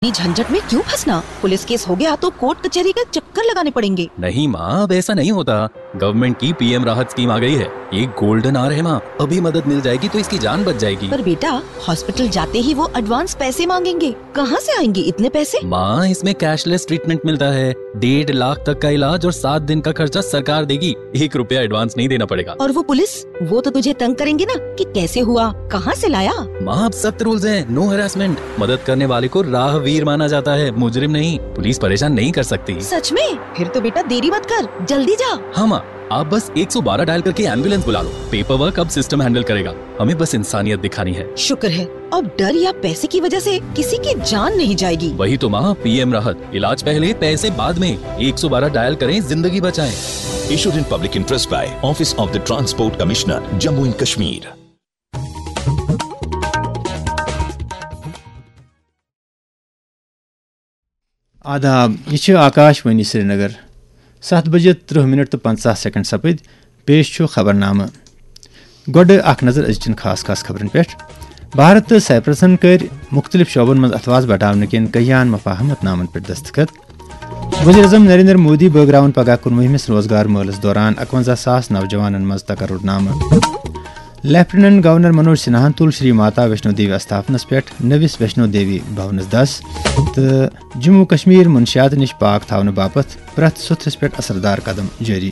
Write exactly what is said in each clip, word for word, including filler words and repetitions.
इतनी झंझट में क्यों फंसना? पुलिस केस हो गया तो कोर्ट कचहरी का चक्कर लगाने पड़ेंगे। नहीं माँ, अब ऐसा नहीं होता। गवर्नमेंट की पीएम राहत स्कीम आ गई है। ये गोल्डन आवर है माँ, अभी मदद मिल जाएगी तो इसकी जान बच जाएगी। पर बेटा, हॉस्पिटल जाते ही वो एडवांस पैसे मांगेंगे। कहाँ से आएंगे इतने पैसे? माँ, इसमें कैशलेस ट्रीटमेंट मिलता है, डेढ़ लाख तक का इलाज और सात दिन का खर्चा सरकार देगी। एक रुपया एडवांस नहीं देना पड़ेगा। और वो पुलिस, वो तो तुझे तंग करेंगे ना कि कैसे हुआ, कहाँ से लाया। माँ, अब सख्त रूल्स हैं, नो हरासमेंट। मदद करने वाले को राहवीर माना जाता है, मुजरिम नहीं। पुलिस परेशान नहीं कर सकती। सच में? फिर तो बेटा, देरी मत कर, जल्दी जा। हाँ माँ, आप बस एक सौ बारह डायल करके एम्बुलेंस बुला लो। पेपर वर्क अब सिस्टम हैंडल करेगा। हमें बस इंसानियत दिखानी है। शुक्र है, अब डर या पैसे की वजह से किसी की जान नहीं जाएगी। वही तो माँ, पीएम राहत, इलाज पहले, पैसे बाद में। एक सौ बारह डायल करें, जिंदगी बचाएं। Issued in public interest by Office of the Transport Commissioner, Jammu and Kashmir. آداب، یہِ چھِ آکاش وانی سرینگر۔ ستھ بجے ترٕہ منٹ تہٕ پنژاہ سیکنڈ سپٕدۍ۔ پیش چھُ خبرنامہٕ۔ گۄڈٕ اکھ نظر أزچٮ۪ن خاص خاص خبرن پٮ۪ٹھ۔ بھارت تہٕ سائپرسن کٔرۍ مُختٔلِف شعبن منٛز اتھواس بٹاونہٕ کٮ۪ن کٔہیاہن مفاہمت نامن پٮ۪ٹھ دستخط۔ وزیر اعظم نریندر مودی بٲگراوَن پگاہ کُنوُہمِس روزگار مٲلَس دوران اَکوَنزاہ ساس نوجوانَن منٛز تقرر نامہٕ۔ لیفٹیننٹ گورنر منوج سنہاہَن تُل شری ماتا ویشنو دیوی استھاپنَس پٮ۪ٹھ نٔوِس ویشنو دیوی بھونَس دَس تہٕ جموں کشمیر منشیات نِش پاک تھاونہٕ باپتھ پرٛٮ۪تھ سوٚتھرِس پٮ۪ٹھ اثردار قدم جٲری۔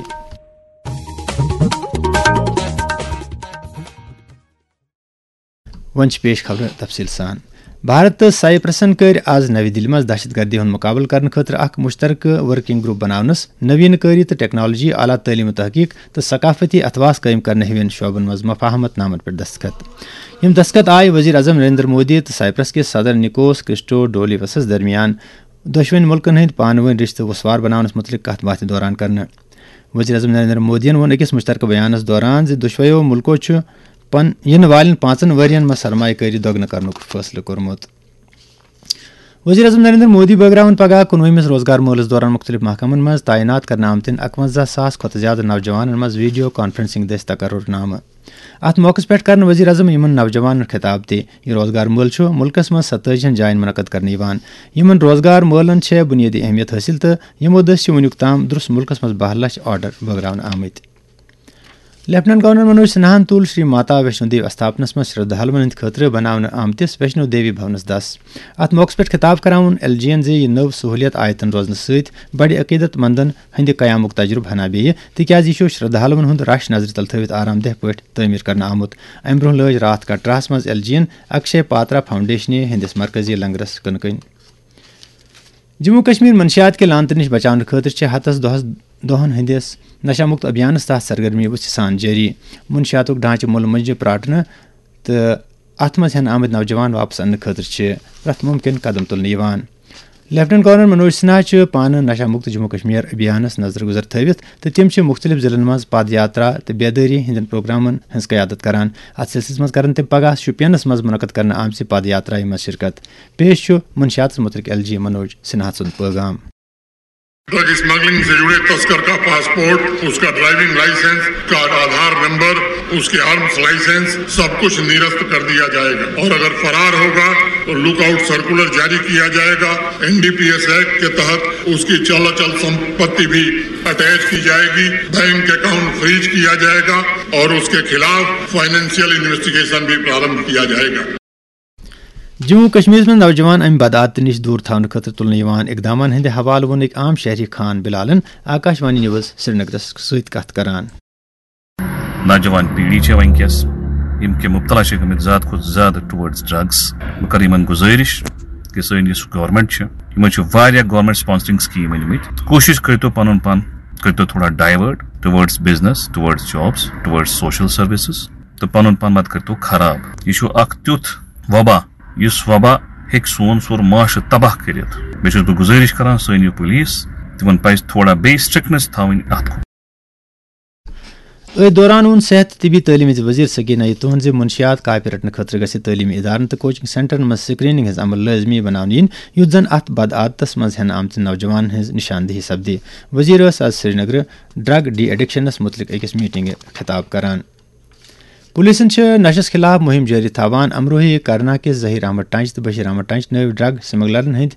وۄنۍ چھِ پیش خبرٕ تفصیٖل سان۔ بھارت تہٕ سائپرسن کٔرۍ آز نَوِ دِلہِ منٛز دہشت گردی ہُنٛد مُقابلہٕ کرنہٕ خٲطرٕ اکھ مُشترکہٕ ورکنگ گروپ بناونس، نوین کٲری تہٕ ٹیکنالوجی، اعلیٰ تعلیم و تحقیق تہٕ ثقافتی اتھواس قٲیِم کرنہٕ ہِوٮ۪ن شعبن منٛز مفاہمت نامن پٮ۪ٹھ دستخط۔ یِم دستخط آیہِ وزیر اعظم نریندر مودی تہٕ سائپرس کِس صدر نکوس کرسٹو ڈولیوسس درمیان دۄشوٕنۍ مُلکن ہٕنٛدۍ پانہٕ وٲنۍ رشتہٕ وُسوار بناونس مُتعلق کتھ باتھِ دوران کرنہٕ۔ وزیر اعظم نریندر مودیَن ووٚن أکِس مُشترکہٕ بیانَس دوران زِ دۄشوَیو مُلکو چھُ پن-، یِنہٕ والٮ۪ن پانٛژن ؤرۍ یَن منٛز سرمایہ کٲری دۄگنہٕ کرنُک فٲصلہٕ کوٚرمُت۔ وزیر اعظم نریندر مودی بٲگراوَن پگاہ کُنوُہمِس روزگار مٲلَس دوران مُختٔلِف محکمَن منٛز تعینات کرنہٕ آمتٮ۪ن اَکوَنزاہ ساس کھۄتہٕ زِیٛادٕ نوجوانَن منٛز ویڈیو کانفرنسنگ دٔسۍ تقرر نامہٕ۔ اَتھ موقعَس پٮ۪ٹھ کرن وزیر اعظم یِمَن نوجوانَن خطاب تہِ۔ یہِ روزگار مٲلہٕ چھُ مُلکَس منٛز ستٲجی ہَن جایَن منعقد کرنہٕ یِوان۔ یِمَن روزگار مٲلَن چھےٚ بُنیٲدی اہمیت حٲصِل تہٕ یِمو دٔسۍ چھِ وُنیُک تام درٛس مُلکَس منٛز باہ لَچھ آرڈر بٲگراونہٕ آمٕتۍ۔ لیفٹیننٹ گورنر منوج سنہاہَن تُل شری ماتا ویشنو دیوی استھاپنس منٛز شرٛدھالوَن ہٕنٛدِ خٲطرٕ بناونہٕ آمتِس ویشنو دیوی بھونس دَس۔ اَتھ موقعَس پٮ۪ٹھ خطاب کران ووٚن ایل جی یَن زِ یہِ نٔو سہوٗلیت آیتن روزنہٕ سۭتۍ بڑِ عقیدت مندن ہٕنٛدِ قیامُک تجربہٕ ہنا بیٚیہِ، تِکیازِ یہِ چھُ شرٛدھالوَن ہُنٛد رش نظرِ تل تھٲوِتھ آرام دہ پٲٹھۍ تعمیٖر کرنہٕ آمُت۔ اَمہِ برٛونٛہہ لٲج راتھ کٹراہَس منٛز ایل جی یَن اکشے پاترا فاؤنڈیشنہِ ہٕنٛدِس مرکزی لنگرس کٕنہٕ کٔنۍ۔ جموں کشمیر منشیات کہِ لعنتہٕ نِش بچاونہٕ خٲطرٕ چھِ ہتس دۄہس، دۄہن ہٕنٛدِس نشہ مُکت ابھیانس تحت سرگرمی وُژھِ سان جٲری۔ منشیاتُک ڈھانچہٕ مُلہٕ مۄنجہِ پراٹنہٕ تہٕ اتھ منٛز ہٮ۪نہٕ آمٕتۍ نوجوان واپس اننہٕ خٲطرٕ چھِ پرٛٮ۪تھ مُمکِن قدم تُلنہٕ یِوان۔ لیفٹیننٹ گورنر منوج سنہا چھُ پانہٕ نشہ مُکت جموں کشمیر ابھیانس نظر گُزر تھٲوِتھ تہٕ تِم چھِ مُختٔلِف ضلعن منٛز پد یاترا تہٕ بیدٲری ہٕنٛدٮ۪ن پروگرامن ہٕنٛز قیادت کران۔ اتھ سلسلس منٛز کرن تِم پگاہ شوپینس منٛز منعقد کرنہٕ آمژِ پد یاترایہِ منٛز شرکت۔ پیش چھُ منشیاتس متعلق ایل جی منوج سنہا سُنٛد پیغام۔ ڈرگ اسمگلنگ سے جڑے تسکر کا پاسپورٹ، اس کا ڈرائیونگ لائسنس، اس کا آدھار نمبر، اس کے آرمز لائسنس، سب کچھ نرست کر دیا جائے گا اور اگر فرار ہوگا تو لک آؤٹ سرکولر جاری کیا جائے گا۔ N D P S act کے تحت اس کی چل اچل سمپتی بھی اٹیچ کی جائے گی، بینک اکاؤنٹ فریز کیا جائے گا اور اس کے خلاف فائنینشیل انویسٹیگیشن بھی پرارمبھ کیا جائے گا۔ جموں کشمیرس منٛز نوجوان امہِ بدعات نِش دوٗر تھاونہٕ خٲطرٕ تُلنہٕ یِوان اقدامن ہٕنٛدِ حوالہٕ ووٚن أکۍ عام شہری خان بلالن آکاش وانی نیوز سرینگرس سۭتۍ کتھ کران۔ نوجوان پیڑھی چھےٚ وٕنکیٚس یِم کہِ مُبتلا چھِ گٔمٕتۍ زیادٕ کھۄتہٕ زیادٕ ٹُوٲرڈز ڈرگس۔ بہٕ کرٕ یِمن گُزٲرِش کہِ سٲنۍ یُس گورنمنٹ چھِ، یِمن چھِ واریاہ گورنمنٹ سپانسرنگ سکیٖم أنۍ مٕتۍ۔ کوٗشِش کٔرۍتو پنُن پان، کٔرۍتو تھوڑا ڈایوٲرٹ ٹُوٲرڈز بزنس، ٹُوٲرڈز جابس، ٹُوٲرڈز سوشل سروسز۔ تہٕ پنُن پان مت کٔرۍتو خراب۔ یہِ چھُ اکھ تیُتھ وبا، یُس وبا ہیٚکہِ سون سورُے معاشرٕ تباہ کٔرِتھ۔ بیٚیہِ چھُس بہٕ گُزٲرِش کران سٲنۍ یہِ پُلیٖس، تِمن پزِ تھوڑا بیٚیہِ سٹرکٹنس تھاوٕنۍ اتھ کُن۔ أتھۍ دوران ووٚن صحت تہٕ طبی تعلیٖم ہٕنٛدِ وزیر سکینہ یتوہن زِ منشیات کاپہِ رٹنہٕ خٲطرٕ گژھِ تعلیمی ادارن تہٕ کوچنگ سینٹرن منٛز سکریننگ ہٕنٛز عمل لٲزمی بناونہٕ یِنۍ، یُتھ زن اتھ بدعادتس منٛز ہٮ۪نہٕ آمتٮ۪ن نوجوانن ہٕنٛز نشاندہی سپدِ۔ وزیر ٲس از سرینگرٕ ڈرگ ڈی ایڈکشنس مُتعلق أکِس میٹنگہِ خطاب کران۔ پولیسن چھِ نشس خلاف مُہِم جٲری تھاوان۔ امروہی کرنا کِس ظہیر احمد ٹنچ تہٕ بشیر احمد ٹنچ نٲوۍ ڈرگ سمگلرن ہٕنٛدۍ